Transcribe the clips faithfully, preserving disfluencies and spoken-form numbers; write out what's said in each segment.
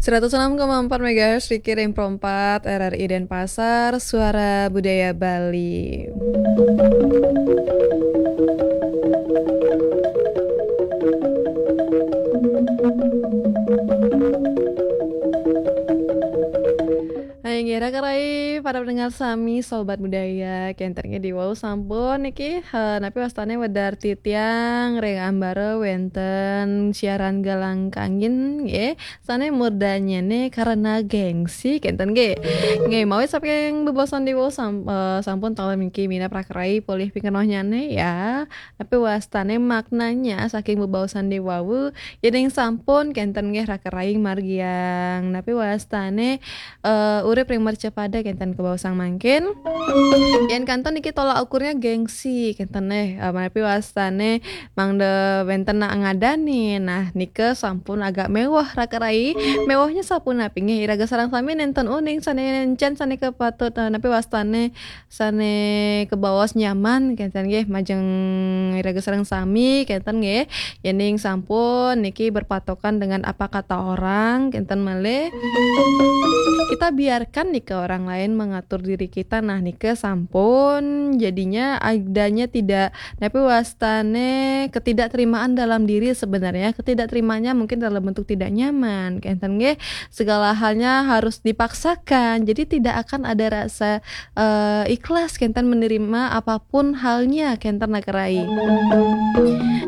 Seratus enam koma empat megahertz Riki Rempro empat R R I Denpasar, Suara Budaya Bali. Hai, ngira kerai para pendengar sami, sobat budaya, kenten nggih di wau sampun niki, eh, napi wastane wedar titiang ring ambara wenten siaran galang kangin, nggih. Sane murdannyane karena gengsi, kenten nggih. Nggih, mawit saking bebaosan di wau sam-, eh, sampun taler niki minab rakerai polih pikenohnyane, ya. Napi wastane maknanya saking bebaosan di wau, yening sampun kenten nggih rakerai margiang. Napi wastane, eh, urip ring mercapada kenten kabaosang mangkin. Yen kantun niki tolak ukurnya gengsi, kenten nggih. Eh, napi wastane mangda wenten nak ngadani. Nah, nika sampun agak mewah rakerai. Mewahnya sapunapi nggih, iraga sareng sami nenten uning sane encen sane kapatut, eh, napi wastane sane kabaos nyaman, kenten nggih, majeng iraga sareng sami, kenten nggih. Yening sampun niki berpatokan dengan apa kata orang, kenten malih. Kita biarkan nika orang lain mengatur diri kita, nah nika sampun jadinya adanya tidak, napi wastane ketidakterimaan dalam diri sebenarnya. Ketidakterimaannya mungkin dalam bentuk tidak nyaman, kenten nggih. Segala halnya harus dipaksakan. Jadi tidak akan ada rasa, eh, ikhlas kenten menerima apapun halnya kenten rakerai.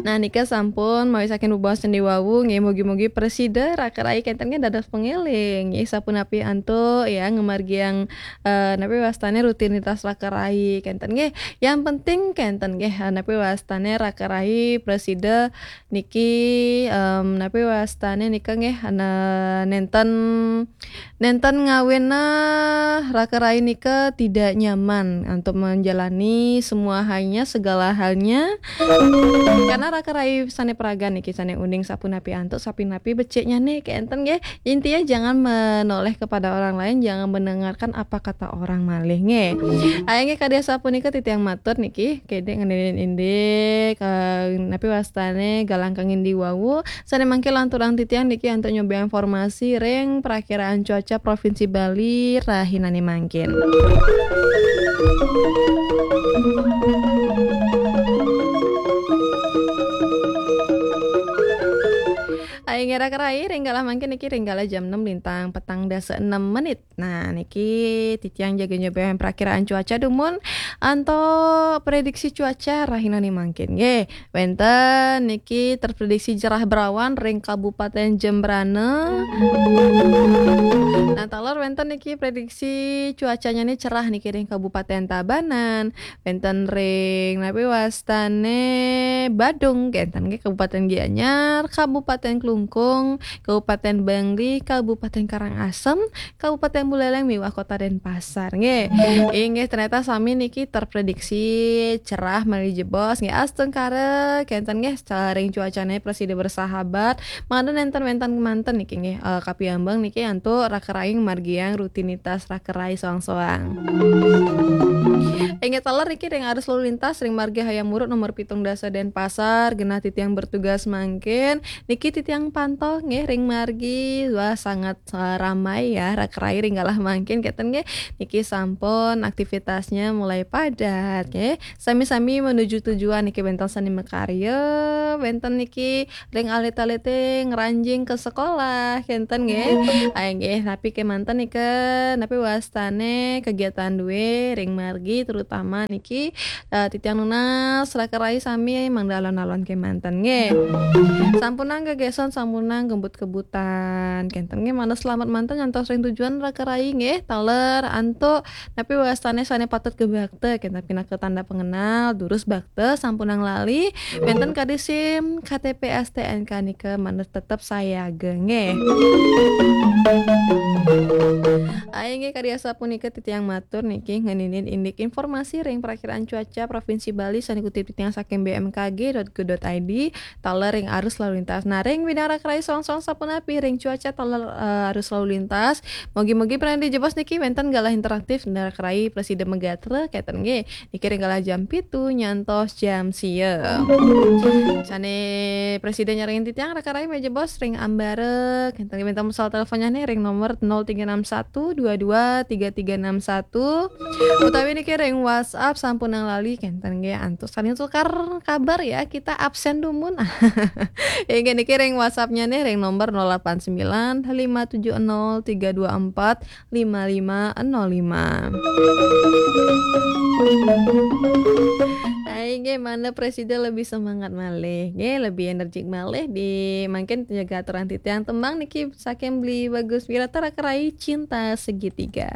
Nah, nika sampun mawit saking bebaosan di wau nggih, mugi-mugi prasida rakerai kenten nggih dados pangeling nggih, sapunapi antuk ya ngamargiang, eh, napi wastane rutinitas rakerai kenten nggih. Yang penting kenten nggih, eh, napi wastane rakerai prasida niki, em, napi wastane nika nggih, ana nenten, nenten ngawina rakerai nika tidak nyaman untuk menjalani semua halnya, segala halnya. Karena rakerai sane pragan niki sane uning sapunapi antuk, sapunapi beciknyane kenten nggih. Intinya jangan menoleh kepada orang lain, jangan mendengarkan apa kata orang malih nggih. Ayo nggih, kadi asapunika titiang matur niki, kedek ngendinin indik, eh, napi wastane galang kangin di wau. Sane mangke lanturang titiang niki antuk nyoba informasi ring Prakiraan Cuaca Provinsi Bali rahinane mangkin. Ayo ngira kerai, ring galah mangkin niki ring galah jam enam lintang petang dasa enam menit. Nah, niki titiang jaga nyoba prakiraan cuaca dumun antuk prediksi cuaca rahinane mangkin nggih. Wenten niki terprediksi cerah berawan ring Kabupaten Jembrana. Nah, taler wenten niki prediksi cuacanya nih cerah niki ring Kabupaten Tabanan, wenten ring napi wastane Badung, kenten nggih Kabupaten Gianyar, Kabupaten Klungkung, Kabupaten Bangli, Kabupaten Karangasem, Kabupaten Buleleng miwah Kota Denpasar nggih. Inggih, ternyata sami niki terprediksi cerah malih jebos nggih, astungkara kenten nggih, saring cuacane prasida bersahabat. Mangda nenten wenten kemanten niki nggih, eh, kapiambeng niki antuk rakerai margiang rutinitas rakerai soang-soang. Inggih, taler niki ring arus lalu lintas ring Marga Hayam Wuruk nomor pitung dasa Denpasar, genah titiang bertugas mangkin. Niki titiang pantau nggih ring margi, wah sangat, eh, ramai ya, rakerai ring galah mangkin keten nggih. Niki sampun aktivitasnya mulai padat nggih. Sami-sami menuju tujuan niki, wenten sane makarya, wenten niki ring alit-alite ngranjing ke sekolah kenten nggih. Ayo nggih, napi kemanten nika, napi wastane kegiatan due ring margi, terutama niki eh, titiang nunas rakerai sami mangda alon-alon kemanten nggih. Sampunang gegeson, sampunang gembut-gebutan. Kenten nggih, mangda selamet manten nyantos ring tujuan rakerai nggih. Taler antuk napi wastane sane patut kebakta, kenten pinaka tanda pengenal, durus bakta, sampunang lali, wenten kadi SIM, K T P, S T N K nika mangda tetep sayaga nggih. Ayo nggih, kadi asapunika titiang matur niki ngeninin indik informasi ring Prakiraan Cuaca Provinsi Bali sane kutip titiang saking B M K G dot go dot I D, taler ring arus lalu lintas. Nah, ring bidang Raka rai, soang-soang sapunapi ring cuaca taler, eh, arus lalu lintas. Mogi-mogi pina dijebos niki wénten galah interaktif, Raka rai prasida magatra, kénten nggih. Niki ring galah jam pitu nyantos jam sia. Sané prasida nyarengin titiang, Raka rai majebos ring ambara, kénten nggih, wénten soal teleponnyané ring nomor nol tiga enam satu dua dua tiga tiga enam satu. Utawi niki ring WhatsApp sampunang lali, kénten nggih, antuk saling tukar kabar ya, kita absen dumun. Inggih, niki ring WhatsApp-nya nih ring nomor nol delapan sembilan lima tujuh nol tiga dua empat lima lima nol lima. Nah, inggih, mangda prasida lebih semangat malih, nggih, lebih energik malih di mangkin jaga aturan titiang tembang niki saking Beli Bagus Wirata, Raka rai, Cinta Segitiga.